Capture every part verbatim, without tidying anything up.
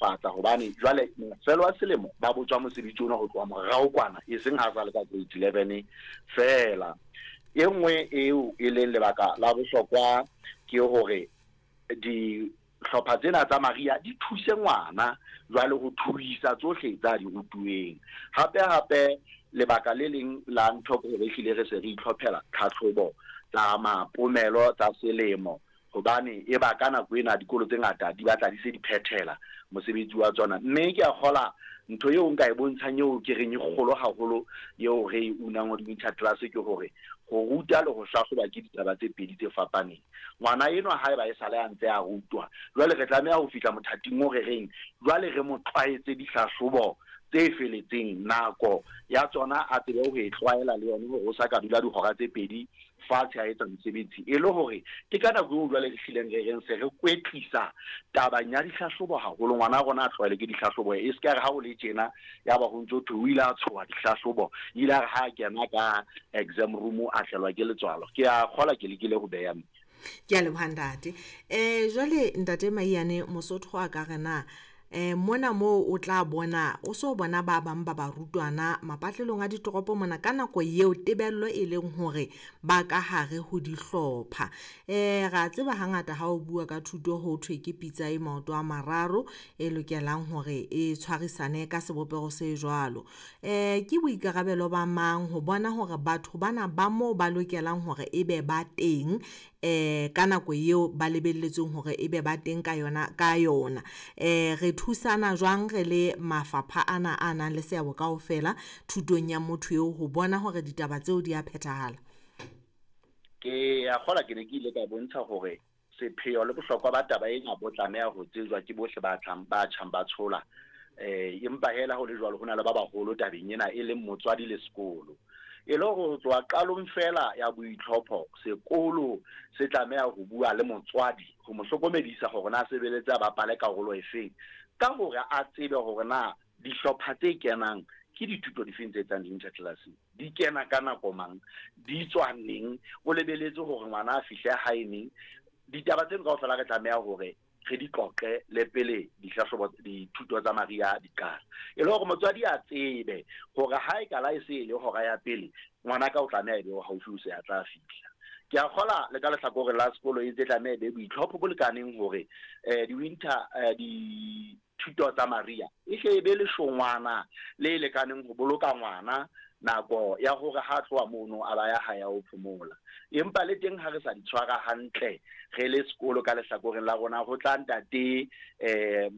ntlafatsa hobane jwale mafelo a selemo ba botswa mosebetsi ona ho tloha morao kwana, e seng ha sa le ka grade eleven feela. E nngwe eo e leng lebaka la bohlokwa ke hore dihlopha tsena tsa Maria di thuse ngwana jwale ho thuisa tsohle tsa di rutuweng. Hape hape lebaka le leng la ntho ke hore ehlile re se re itlhophela tlhatlhobo tsa mapomelo tsa selemo, hobane e ba ka nako ena dikolo tse ngata di batla di se di phethela mosebetsi wa tsona. Mme ke a kgola ntho eo nka e bontshang eo ke reng e kgolo haholo eo re e unang ho di-winter class ke hore ho ruta le ho hlahloba ke ditaba tse pedi tse fapaneng. Ngwana enwa haeba e sale a ntse a rutwa, jwale re tlameha ho fihla mothating o re reng jwale re mo tlwaetse dihlahlobo tse feletseng, nako ya tsona a tsebe ho e tlwaela le yona hore o sa ka dula dihora tse pedi fatshe a etsa mosebetsi, e le hore ke ka nako eo jwale re hlileng re reng se re kwetlisa tabeng ya dihlahlobo haholo. Ngwana rona a tlwaele ke dihlahlobo, e se ka re ha o le tjena ya ba ho ntso thwe o ile a tshoha dihlahlobo, ile a re ha a kena ka exam room a tlelwa ke letswalo. Ke a kgola ke lekile ho beha mme. Ke a leboha ntate. Eh jwale ntate Maiyane, Mosotho a ka re na eh mona moo o tla bona o so bona ba bang ba barutwana mapatlelong a ditoropo mona ka nako eo tebello e leng hore ba ka hare ho dihlopha. Eh ra tseba hangata ha o bua ka thuto ho thwe ke pitsa e maoto a mararo e lokelang hore e tshwarisane ka sebopeho se jwalo. Eh ke boikarabelo ba mang ho bona hore batho bana ba moo ba lokelang hore ebe ba teng eh ka nako eo ba lebelletsweng hore ebe ba teng ka yona ka yona. Eh re thusana jwang re le mafapha ana a nang le seabo kaofela thutong ya motho eo ho bona hore ditaba tseo di a phethahala? Ke a kgola ke ne ke ile ka bontsha hore sepheo le bohlokwa ba taba ena bo tlameha ho tsejwa ke bohle ba tlang ba tjhang ba tshola. Eh empa hela ho le jwalo ho na le ba baholo tabeng ena e leng motswadi le sekolo. E le hore ho tloha qalong fela ya boitlhopho sekolo se tlameha ho bua le motswadi ho mo hlokomedisa hore na sebeletse a bapale karolo efeng, ka hore a tsebe hore na dihlopha tse kenang ke dithuto difeng tse etsang di-winter class, di kena ka nako mang, di tswa neng, o lebeletse hore ngwana a fihle hae neng. Ditaba tseno kaofela re tlameha hore re di qoqe le pele dihlahlobo dithuto tsa Maria di qala, e le hore motswadi a tsebe hore ha e kala e se e le hora ya pele ngwana ka o tlameha e be haufi o se a tla fihla. Ke a kgola le ka lehlakoreng la sekolo e ntse tlameha e be boitlhopho bo lekaneng hore eh di-winter eh dithuto tsa Maria e hle e be leshongwana le lekaneng ho boloka ngwana nako ya hore ha tloha mono a ba ya hae ho phomola. Empa le teng ha re sa di tshwara hantle re le sekolo ka lehlakoreng la rona, ho tla ntate eh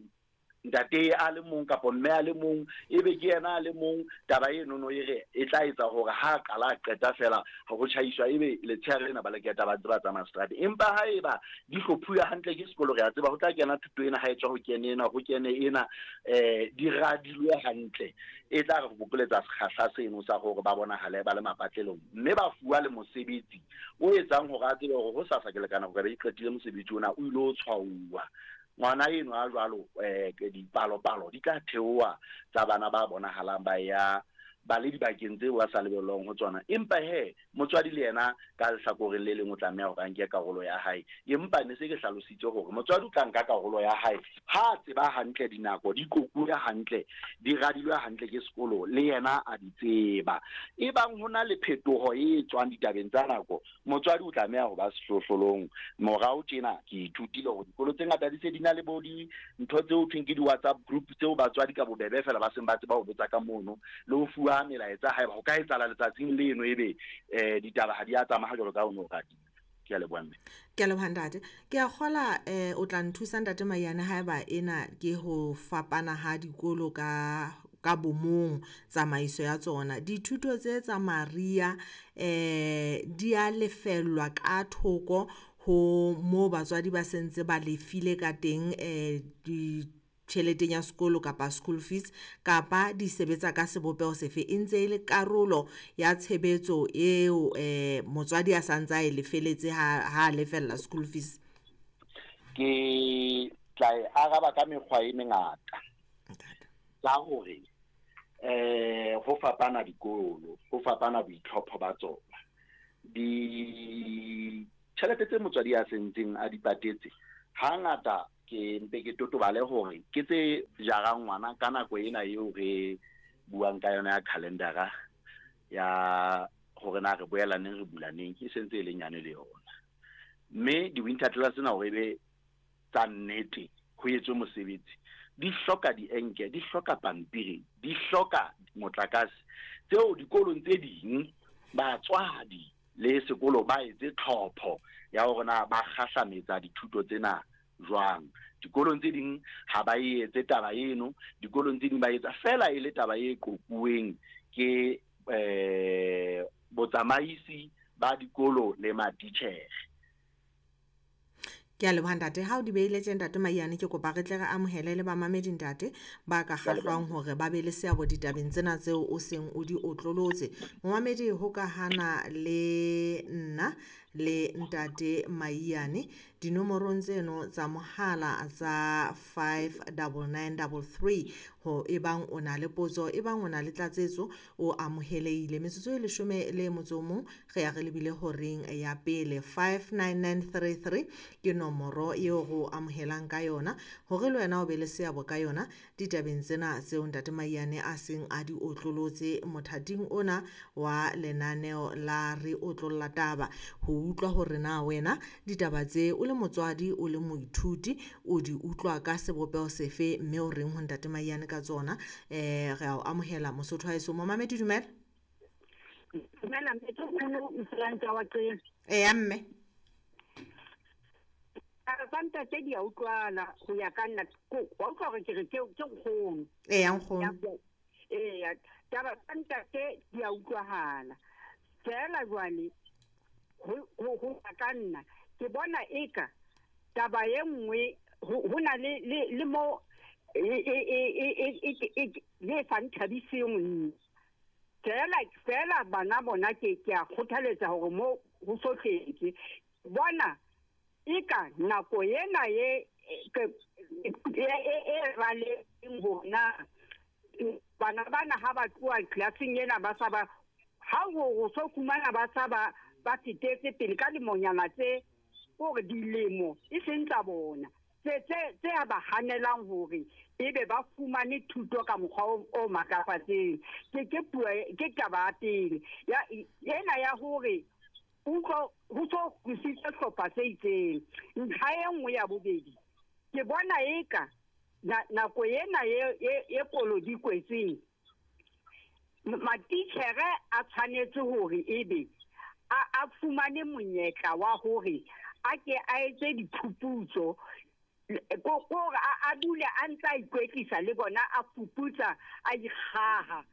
ntate a le mong kapa mme a le mong, ebe ke yena a le mong, taba eno no e re e tla etsa hore ha a qala a qeta fela ho tjhaiswa ebe letshehare lena ba le keta ba ntse ba tsamaya seterateng. Empa haeba di hlophuwa hantle ke sekolo, re a tseba ho tla kena thuto ena ha e tswa ho kene ena ho kene ena, eh di radilwe hantle, e tla re bokoletsa sekgahla seno sa hore ba bonahale ba le mapatlelong, mme ba fuwa le mosebetsi o etsang hore a tsebe hore ho sasa ke lekana hore ba iqetile mosebetsi ona o ile ho tshwauwa. Ngwana eno a jwalo eh dipalopalo di tla theoha tsa bana ba bonahalang ba ya ba le dibakeng tseo ba sa lebellwang ho tsona. Empa he motswadi le yena ka lehlakoreng le leng o tlameha hore a nke karolo ya hae. Empa ne se ke hlalositse hore motswadi o tla nka karolo ya hae ha a tseba hantle dinako di qoquwe hantle, di radilwe hantle ke sekolo, le yena a di tseba. Ebang ho na le phetoho e tswang ditabeng tsa nako, motswadi o tlameha ho ba sehlohlolong. Morao tjena ke ithutile hore dikolo tse ngata di se di na le bo dintho tseo thweng ke di-WhatsApp group tseo batswadi ka bobebe fela ba seng ba tseba ho botsa ka mono le ho fuwa melaetsa haeba ho ka etsahala letsatsing leno ebe eh ditaba ha di a tsamaya jwalo ka ho no ratile. Ke a leboha mme. Ke a leboha ntate. Ke a kgola eh o tla nthusa ntate Maiyane haeba ena ke ho fapana ha dikolo ka ka bomong tsamaiso ya tsona. Dithuto tse tsa Maria eh di a lefellwa ka thoko ho mo batswadi ba sentse ba lefile ka teng eh di tjheleteng ya sekolo kapa school fees, kapa di sebetsa ka sebopeho sefe, e ntse e le karolo ya tshebetso eo eh motswadi a santse a e lefeletse ha ha lefella school fees? Ke tla e araba ka mekgwa e mengata. Ka hore eh ho fapana dikolo, ho fapana boitlhopho ba tsona. Ditjhelete tse motswadi a sentseng a di patetse hangata Ke mpe ke totobale hore ke tse jarang ngwana ka nako ena eo re buang ka yona ya calendara ya hore na re boela neng re bula neng, e sentse e le nyane le yona. Mme di-winter class tsena hore ebe tsa nnete ho etswe mosebetsi, di hloka dienke, di hloka pampiri, di hloka motlakase. Tseo dikolong tse ding batswadi le sekolo ba etse tlhopho ya hore na ba kgahlametsa dithuto tsena jwang. Dikolong tse ding ha ba etse taba eno, dikolong tse ding ba etsa fela e le taba e qoquweng ke eh botsamaisi ba dikolo le matitjhere. Ke a leboha ntate. Ha o di beile tje ntate Maiyane, ke kopa re tle re amohele le bamamedi ntate ba ka kgahlwang hore ba be le seabo ditabeng tsena tseo o seng o di otlolotse. Momamedi ho ka hana le nna le ntate Maiyane dinomorong tseno tsa mohala tsa five double nine double three ho ebang o na le potso, ebang o na le tlatsetso, o amohelehile. Metsotso e leshome le motso o mong re ya re lebile horeng ya pele. Five nine nine three three ke nomoro eo re o amohelang ka yona hore le wena o be le seabo ka yona ditabeng tsena tseo ntate Maiyane a seng a di otlolotse mothating ona wa lenaneo la Re Otlolla Taba. Ho utlwa hore na wena ditaba tse o le motswadi, o le moithuti, o di utlwa ka sebopeho sefe, mme o reng ho ntate Maiyane ka tsona. Eh re a o amohela Mosotho wa heso. Momamedi dumela. Dumela mme, ke nkgono Mflantsa wa Qena. Eya mme. Tsa ntate di a utlwala ho ya ka nna, wa utlwa hore ke re ke ke nkgono. Eya nkgono. Eya, taba tsa ntate di a utlwahala. Feela jwale ho ho ya ka nna ke bona eka taba e nngwe ho na le le mo e e e e e le sa nthabiseng nna. Feela feela bana bona ke ke a kgothaletsa hore mo ho sohletse bona eka nako ena e e e raleng bona bana bana ha ba tloha classeng ena ba sa ba ha ho so fumana ba sa ba ba fetetse pele ka lemonyana tse hore dilemo e seng tsa bona tse tse tse ba hanelang hore ebe ba fumane thuto ka mokgwa o matlafatseng. Ke ke puo ke taba ya pele ya ena ya hore utlwa ho so tlositse hlopha se itseng. Ntlha e nngwe ya bobedi ke bona eka nako ena e e kolo di kwetseng matitjhere a tshwanetse hore ebe a a fumane monyetla wa hore a ke a etse diphuputso ko gore a dule a ntse a ikwetlisa le bona a fuputsa a ikgaha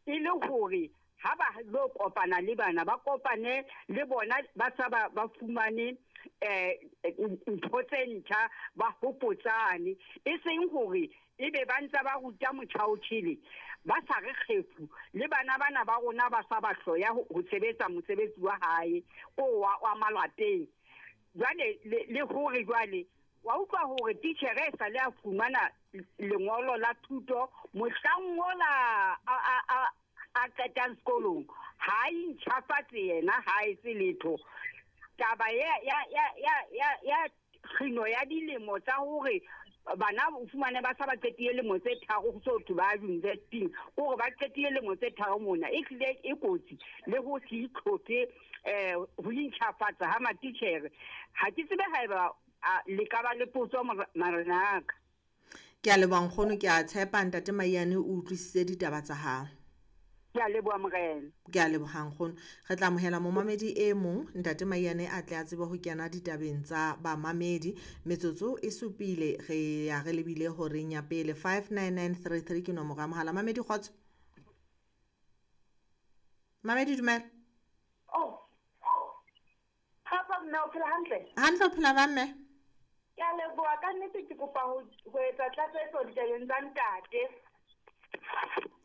e le hore ha ba lo kopana le bana ba kopane le bona ba sa ba ba fumane eh ntho tse ntjha ba hopotsane, e seng hore ebe ba ntse ba ruta motjhaotjhele ba sa re kgefu le bana bana ba rona ba sa ba hloya ho sebetsa mosebetsi wa hae o wa wa malapeng. Jwale le hore jwale wa utlwa hore titjhere e sale a fumana lengolo la thuto mohlang ola a a a qetang sekolong ha e ntjhafatse yena ha etse letho. Taba ya ya ya ya ya kgino ya dilemo tsa hore bana o fumane ba sa ba qetile lemo tse tharo ho so thwe ba university hore ba qetile lemo tse tharo mona e hlile e kotsi le ho se itlhophe eh ho intjhafatsa ha matitjhere. Ha ke tsebe haeba le ka ba le potso marenaka. Ke a leboha nkgono, ke a tshepa ntate Maiyane o utlwisitse ditaba tsa hao. Ke a leboha morena. Ke a leboha nkgono. Re tla amohela momamedi e mong ntate Maiyane a tle a tsebe ho kena ditabeng tsa bamamedi. Metsotso e supile re ya re lebile horeng ya pele. Five nine nine three three ke nomoro ya mohala. Mamedi kgotso. Mamedi dumela. Oh. Ha mme o phela hantle? Hantle o phela ba mme? Ke a leboha ka nnete, ke kopa ho etsa tlatsetso ditabeng tsa ntate.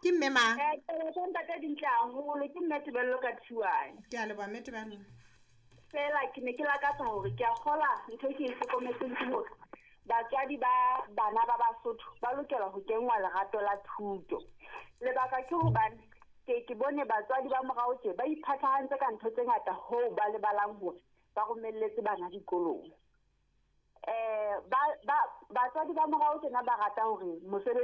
Ke mme mang? Eh, taba tsa ntate di ntle haholo, ke mme Tebello ka Thiwane. Ke a leboha mme Tebello. Fela ke ne ke lakatsa hore ke a kgola ntho e ke e hlokometseng ke hore batswadi ba bana ba Basotho ba lokela ho kenngwa lerato la thuto. Lebaka ke hobane ke ke bone batswadi ba morao tje ba iphathahantse ka ntho tse ngata hoo ba lebalang hore ba romelletse bana dikolong. Eh ba ba Batswadi ba morao tjena ba rata hore mosebetsi